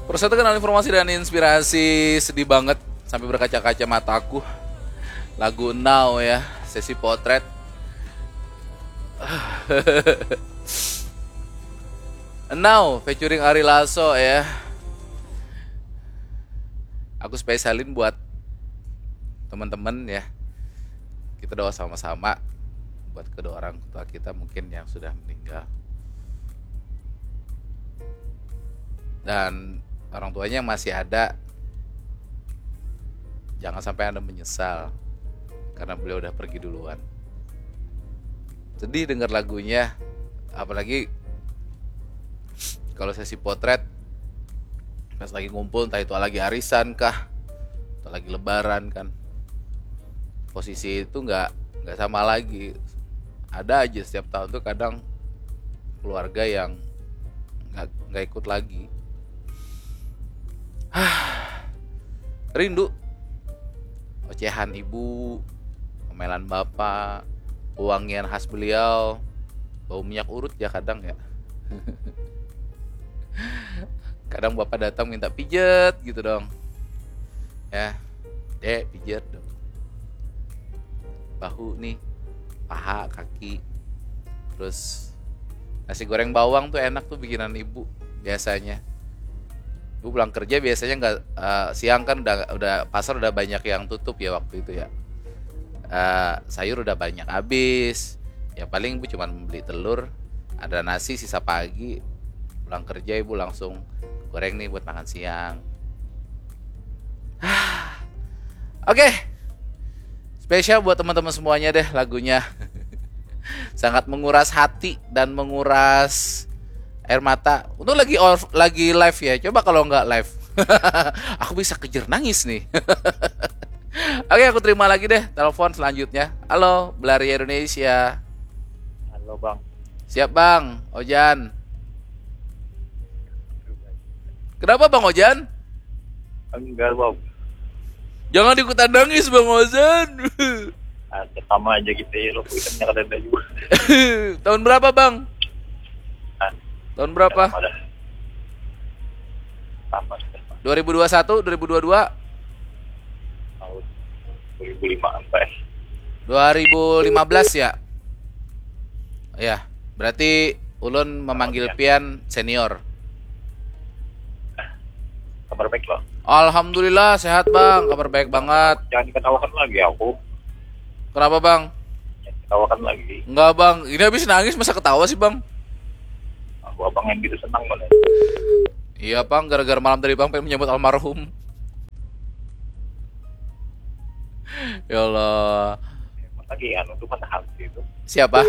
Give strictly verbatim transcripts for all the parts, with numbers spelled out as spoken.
Persatu kenal informasi dan inspirasi. Sedih banget sampai berkaca-kaca mataku. Lagu Now ya, sesi potret. Now featuring Ari Lasso ya. Aku spesialin buat teman-teman ya. Kita doa sama-sama buat kedua orang tua kita mungkin yang sudah meninggal. Dan orang tuanya yang masih ada, jangan sampai Anda menyesal karena beliau udah pergi duluan. Sedih dengar lagunya, apalagi kalau sesi potret pas lagi ngumpul, entah itu lagi arisan kah atau lagi lebaran kan, posisi itu nggak nggak sama lagi. Ada aja setiap tahun tuh kadang keluarga yang nggak nggak ikut lagi. Rindu ocehan ibu, omelan bapak, wangian khas beliau, bau minyak urut ya kadang ya. Kadang bapak datang minta pijet gitu dong. Ya, dek, pijet dong. Bahu nih, paha, kaki. Terus nasi goreng bawang tuh enak tuh bikinan ibu biasanya. Ibu pulang kerja biasanya nggak, eh, siang kan udah udah pasar udah banyak yang tutup ya waktu itu ya. Eh, sayur udah banyak habis. Ya paling ibu cuma beli telur, ada nasi sisa pagi. Pulang kerja ibu langsung goreng nih buat makan siang. Oke. Spesial buat teman-teman semuanya deh lagunya. Sangat menguras hati dan menguras air mata. Untung lagi off, lagi live ya. Coba kalau nggak live, aku bisa kejer nangis nih. Oke, aku terima lagi deh telepon selanjutnya. Halo, Belaria Indonesia. Halo bang. Siap bang, Ojan. Kenapa bang Ojan? Enggak bang. Jangan ikutan nangis bang Ojan. Ah, sama aja gitu ya lo, kita kada ada juga. Tahun berapa bang? Ah. Tahun berapa? Pada sama sudah. dua ribu dua puluh satu, dua ribu dua puluh dua, Tahun dua ribu lima sampai dua ribu lima belas ya? Ya, berarti ulun memanggil pian senior. Kabar baik lo. Alhamdulillah sehat bang, kabar baik banget. Jangan diketawakan lagi aku. Kenapa bang? Jangan diketawakan lagi. Enggak bang, ini habis nangis masa ketawa sih bang? Aku abang yang gitu senang banget. Iya bang, gara-gara malam tadi bang pengen menyambut almarhum. Ya Allah. Lagi anu tuh patah hati itu. Siapa?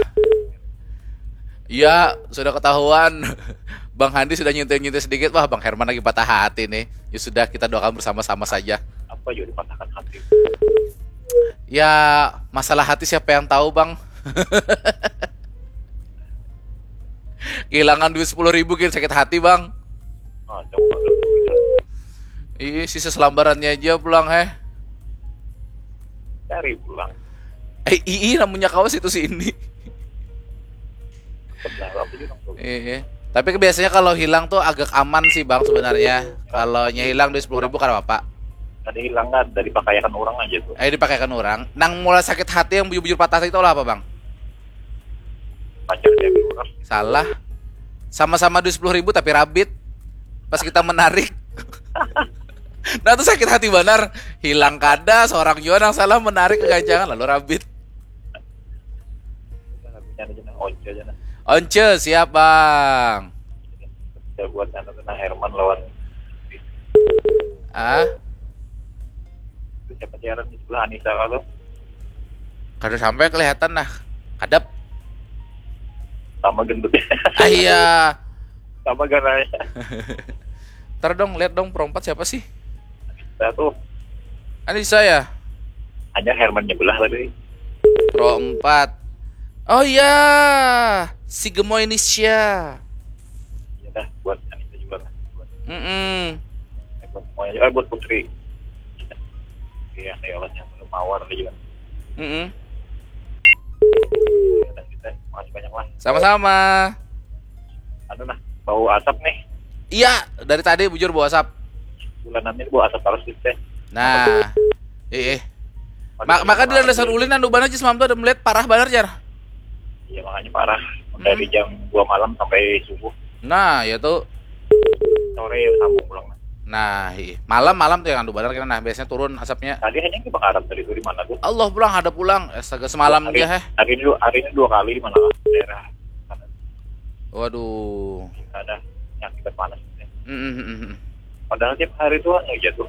Ya, sudah ketahuan. Bang Handi sudah nyintil-nyintil sedikit. Wah, Bang Herman lagi patah hati nih. Ya sudah, kita doakan bersama-sama saja. Apa juga dipatahkan hati? Ya, masalah hati siapa yang tahu, Bang? Kehilangan duit sepuluh ribu gin sakit hati, Bang. Ah, coba. Ih, sisa selambarannya aja pulang, heh. Cari pulang. Eh, ii namanya kawas itu si ini. Sebenarnya apa juga tuh? Iya. Tapi biasanya kalau hilang tuh agak aman sih bang sebenarnya. Kalau nya hilang duit sepuluh ribu kan apa? Tadi hilang kan dari pakaian orang aja tuh. Eh dipakaikan orang. Nang mula sakit hati yang bujur-bujur patah hati itu lah apa bang? Pacarnya orang. Salah. Sama-sama duit sepuluh ribu tapi rabit. Pas kita menarik. Nah tuh sakit hati benar. Hilang kada seorang jua nang salah menarik kegancangan lalu rabit. Lagunya aja nah, Once aja nah. Once siap bang. Saya buat anu kena Herman lawan Ah, itu siapa sih Herman di sebelah Anissa kalau kada sampai kelihatan nah. Kadap. Sama gendutnya. Ah iya. Sama garanya. Ntar dong lihat dong pro empat siapa sih? Nah tuh Anissa ya. Hanya Herman nyebelah tadi. Pro empat. Oh iya. Si Gemoy Nisha. Ya dah buat Anissa juga lah. Buat, Mm-mm. buat semuanya juga buat Putri. Iya, ya Allah yang belum mawar juga. Mm-mm. Dan kita makasih banyak lah. Sama-sama. Anu nah, bau asap nih. Iya, dari tadi bujur bawa asap. Bulanan ini bawa asap terus gitu teh. Nah, eh, eh. Ma- maka di landasan ulin anu banar semalam tuh ada melihat parah banar jar. Iya, makanya parah. Dari jam dua malam sampai subuh. Nah, ya tuh. Sore ya sambung pulang. Nah, iya. Malam-malam tuh yang anu banar kena, nah, biasanya turun asapnya. Tadi hanya kebakaran tadi tuh di mana tuh? Allah pulang, ada pulang. Astaga, semalam hari, aja, heh. Hari ini hari ini dua kali di mana daerah sana. Waduh. Ada yang akibat panas. Mm, mm, mm, mm. Padahal tiap hari tuh anu aja tuh.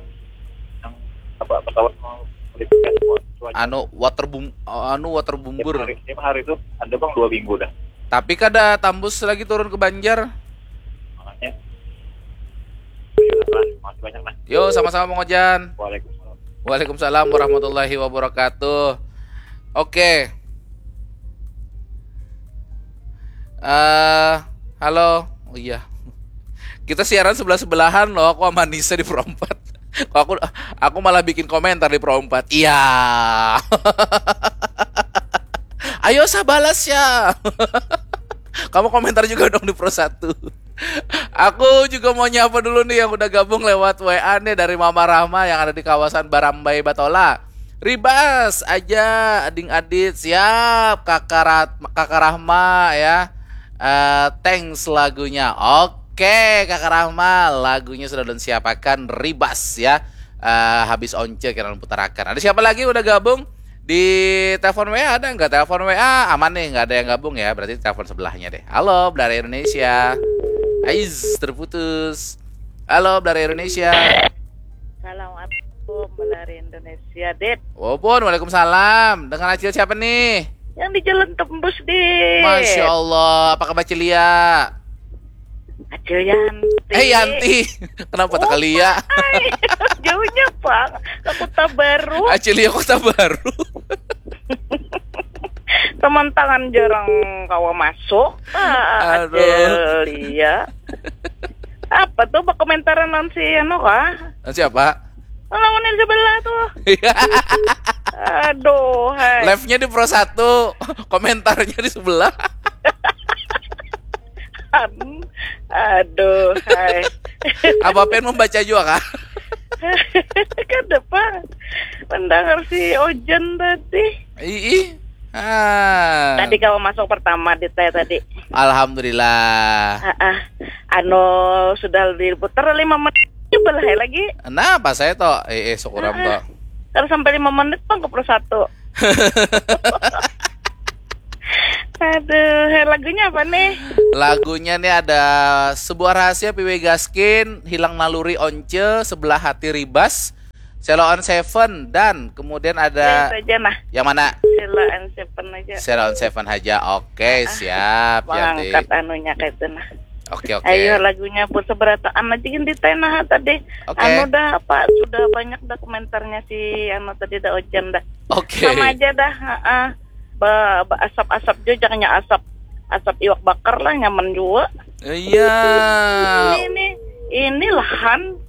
Yang apa, pesawat mau modifikasi cuaca. Anu water boom, anu water Tiap bomber. hari, tiap hari tuh ada bang dua minggu dah. Tapi kada tambus lagi turun ke Banjar. Makanya. Ayo, lah, makasih banyak nah. Yo, sama-sama Mang Ojan. Waalaikumsalam. Waalaikumsalam warahmatullahi wabarakatuh. Oke. Eh, halo. Oh iya. Kita siaran sebelah-sebelahan loh. Aku sama Nisa di Pro empat. Kok aku aku malah bikin komentar di Pro empat. Iya. Ayo, saya balas ya. Kamu komentar juga dong di Pro satu. Aku juga mau nyapa dulu nih yang udah gabung lewat W A nih, dari Mama Rahma yang ada di kawasan Barambai Batola. Ribas aja, Ading Adit, siap. Kakak Rat- Kakak Rahma ya. Eh, thanks lagunya. Oke, Kakak Rahma, lagunya sudah ulun siapakan, Ribas ya. Eh, habis Once kira putarakan. Ada siapa lagi udah gabung? Di telepon W A ada nggak? Telepon W A aman nih, nggak ada yang gabung ya. Berarti telepon sebelahnya deh. Halo, Belari Indonesia. Aiz, terputus. Halo, Belari Indonesia. Assalamualaikum, Belari Indonesia, Dit. Wapun, waalaikumsalam. Dengan Acil siapa nih? Yang di Jalan Tembus, Dit. Masya Allah, apa kabar Cilia? Acil Yanti. Eh, Yanti. Kenapa tak Lia? Hai, jauhnya, Bang. Ke Kota Baru. Acil Lia Kota Baru. Teman tangan jarang kawa masuk. Ah, Aduh. Acil Lia. Apa tuh, berkomentaran non si anu kah? Siapa? Lawan yang sebelah tuh. Iya. Aduh, hai. Live-nya di Pro satu, komentarnya di sebelah. Am, aduh, hai. Apa pen membaca juga kah? Kada, Bang. Mendengar si Ojan tadi. Ih. Ah. Tadi kawa masuk pertama di teh tadi. Alhamdulillah. Ah, ah. Anu sudah diputar lima menit. Coba lah lagi. Nah, pas saya toh, eh, eh syukuram toh. Kalau sampai lima menit, Bang, ke Pro satu. Aduh, hai, lagunya apa nih? Lagunya nih ada sebuah rahasia P W Gaskin, hilang naluri Once, sebelah hati Ribas, Sheila on Seven, dan kemudian Ya, ada itu aja nah. yang mana? Sheila and Seven aja. Sheila on Seven aja. Oke, siap. Yanti. Mengangkat anunya kayak itu nah. Oke, oke. Ayo, lagunya pun seberataan aja gini di teh nah tadi. Oke. Anu dah, apa, sudah banyak dah komentarnya si anu tadi dah, Ojan dah. Oke. Sama aja dah, heeh. Ba, ba asap-asap juga, jangannya asap asap iwak bakar lah, nyaman juga. Iya. Ini ini lahan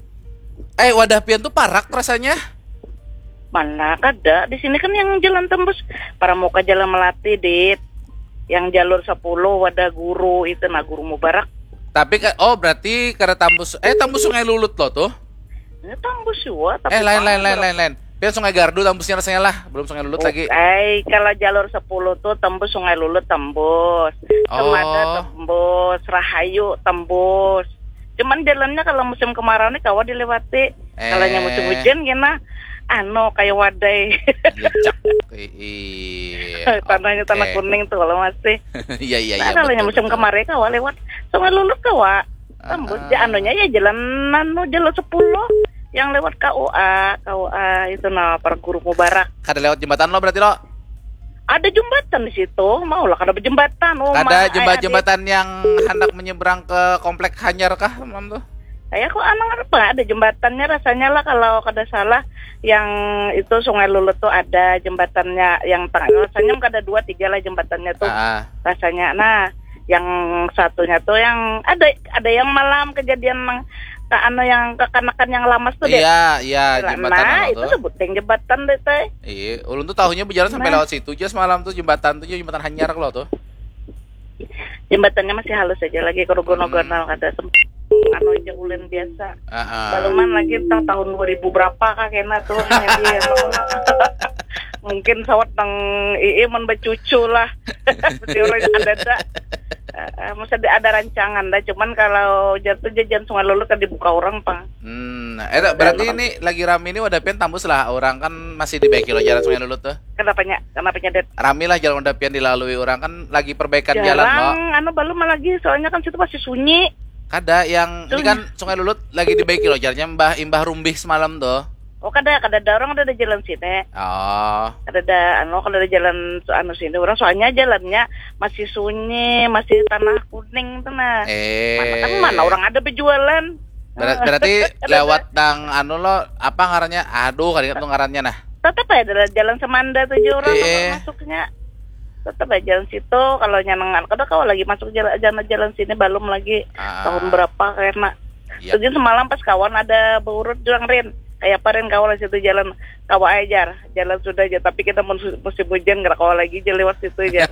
Eh, wadah pian tuh parak rasanya. Mana kada? Di sini kan yang Jalan Tembus, Pramuka, Jalan Melati, Dit. Yang jalur sepuluh, wadah guru itu nah, Guru Mubarak. Tapi ka- oh, berarti kada tambus, eh, tambus Sungai Lulut loh tuh. Ini Tembus juga, tapi Eh, lain, Bang, lain, lain, berapa- lain, lain. Pian Sungai Gardu tambusnya rasanya lah, belum Sungai Lulut lagi. Eh, kalau jalur sepuluh tuh tembus Sungai Lulut, tembus. Cemada, Oh. Tembus, Rahayu, tembus. Cuman jalannya kalau musim kemarau nih kawa dilewati. Kalau yang musim Eh. Hujan gini, anu, kayak wadai. Gecak. Iya. Tanahnya tanah Oke. Kuning tuh kalau masih. Iya, iya, iya. Nah, kalau yang Betul, musim betul. Kemarin kawa lewat Sungai Lulut kawa. Tembus Ah. ya, anunya ya jalan anu, jalur sepuluh yang lewat K U A, K U A itu nah, Parguru Mubarak. Kada lewat jembatan lo berarti lo? Ada jembatan di situ, mau lah kada berjembatan. Oh, Ada ma- jembat eh, jembatan yang hendak menyeberang ke komplek Hanyar kah, Mam tuh? Saya kok anang apa, ada jembatannya rasanya lah, kalau kada salah yang itu Sungai Lulut tuh ada jembatannya yang tengah, rasanya kada dua tiga lah jembatannya tuh Ah, rasanya. Nah, yang satunya tuh yang ada ada yang malam kejadian nang ke anu, yang kekanakan yang lamas tuh deh. Iya, iya, Nah, jembatan apa itu tuh? Sebuting jembatan deh teh. Iya, ulun tuh tahunya berjalan sampai Nah. Lewat situ aja semalam tuh, jembatan tuh, jembatan Hanyar lo tuh. Jembatannya masih halus aja lagi, kalau gunung-gunung kada sempat. anu aja ulin biasa. Heeh. Baluman lagi entah tahun dua ribu berapa kah kena tuh, maybe, anu. Mungkin sawat nang ii mun bacucu lah. Mesti orang ada ada. Heeh, mesti ada, ada rancangan dah. Cuman kalau jatuh jajan Sungai Lulut kan dibuka orang pang. Hmm, nah, eh, berarti ini lagi rami ini wadah pian tambus lah, orang kan masih dibaiki lo jalan Sungai Lulut tuh. Kenapanya? Kenapanya, Det? Rami lah jalan wadah pian dilalui orang kan lagi perbaikan jalan lo. Jarang, anu, balum lagi, soalnya kan situ masih sunyi. Kada, yang ini kan Sungai Lulut lagi dibaiki lo jalannya, imbah, imbah rumbih semalam tuh. Oh, kada, kada ada orang, ada, ada jalan sini. Oh, Ada, ada anu, kada ada jalan anu sini orang, soalnya jalannya masih sunyi, masih tanah kuning tuh nah. eh. Mana kan, mana orang ada berjualan. Ber- berarti lewat dang anu lo, apa ngarannya? Aduh, kada ingat tuh ngarannya nah. Tetap aja ada jalan Semanda tuh aja orang Eh. tetap masuknya. Tetap aja jalan situ, kalau nyanengan kada kawa lagi masuk jalan, jalan, jalan sini, balum lagi. Ah. Tahun berapa kena? Yap. Terus semalam pas kawan ada beurut bilang, "Rin, kayak apa, Rin, kawa lah situ jalan?" "Kawa ajar, jalan sudah aja, tapi kita mun su- musim hujan nggak kawa lagi aja lewat situ aja."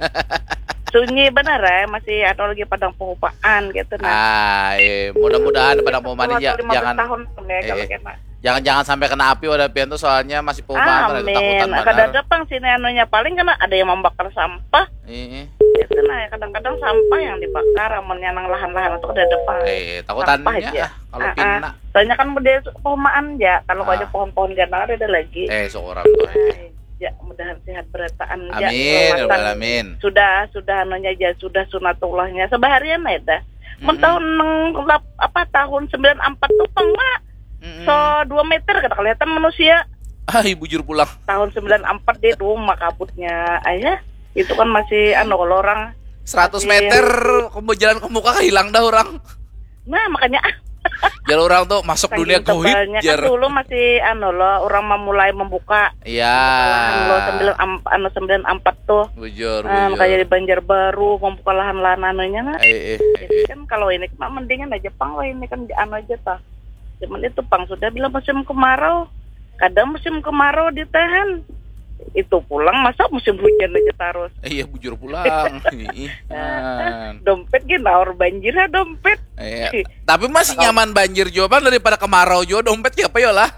Sunyi benar ya, masih ada lagi padang pengupaan gitu nah. Ah, eh, mudah-mudahan pada momen ini Sepuluh atau ja- lima belas jangan tahun pun ya kalau Eh. kena. Jangan-jangan sampai kena api wadah pian tuh, soalnya masih pengupaan ada Amin. ketakutan Kada banar. Ada pang sini anunya, paling kena ada yang membakar sampah. Ih, Itu nah, kadang-kadang sampah yang dibakar, amun yang lahan-lahan itu kada ada pang. Eh, takutannya Sampah aja. ah, kalau Ah, pina. Soalnya kan udah pengupaan aja, kalau Ah. ada pohon-pohon gana ada, ada lagi. Eh, seorang tuh. Eh. Ya, mudahan sehat berataan aja. Amin, ya Keselamatan. Rabbal alamin. Sudah, sudah anunya aja, sudah sunatullahnya. Sebaharian aja dah. Mun Mm-mm. tahun neng- lap- apa, tahun sembilan empat tuh pang, Mak. Mm-mm. So, dua meter kada kelihatan manusia. Ai, bujur pulang. Tahun sembilan empat dia tuh, Mak, kabutnya. Ayah, itu kan masih anu kalau orang Seratus Masih- meter, kamu jalan ke muka hilang dah orang. Nah, makanya Jar orang tuh masuk dunia saking goib, tebalnya kan jar. Dulu masih anu loh, orang memulai membuka Iya. lahan loh, sembilan am- anu, sembilan empat tuh. Bujur, Ah, bujur. kayak di Banjarbaru membuka lahan-lahan anunya nah. Eh, eh, eh, Jadi eh. Kan kalau ini mah mendingan aja pang, kalau ini kan anu aja tah. Cuman itu pang sudah bila musim kemarau, kadang musim kemarau ditahan. Itu pulang masa musim hujan aja terus. Eh, iya, bujur pulang. Ih, kan. Dompet gini naur banjir ha dompet. Iya. Tapi masih nyaman banjir jua pang daripada kemarau jua dompet siapa ya lah?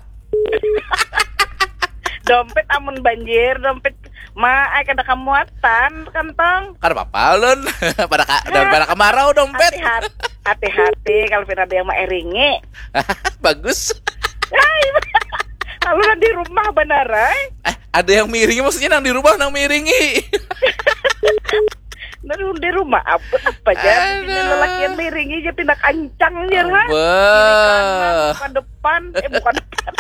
Dompet amun banjir, dompet ma ai kada kamuatan kantong. Kada apa-apa lun. Pada ka, daripada kemarau dompet. Hati-hati, hati-hati kalau pina ada yang mairingi. Bagus. Ai, kalau di rumah benar ai. Eh, ada yang miringi maksudnya nang di rumah nang miringi. Nah, di rumah apa apa aja. Ini Aduh. Lelaki yang miringi aja pindah kancang aja lah. Bah. Bukan depan, eh bukan depan.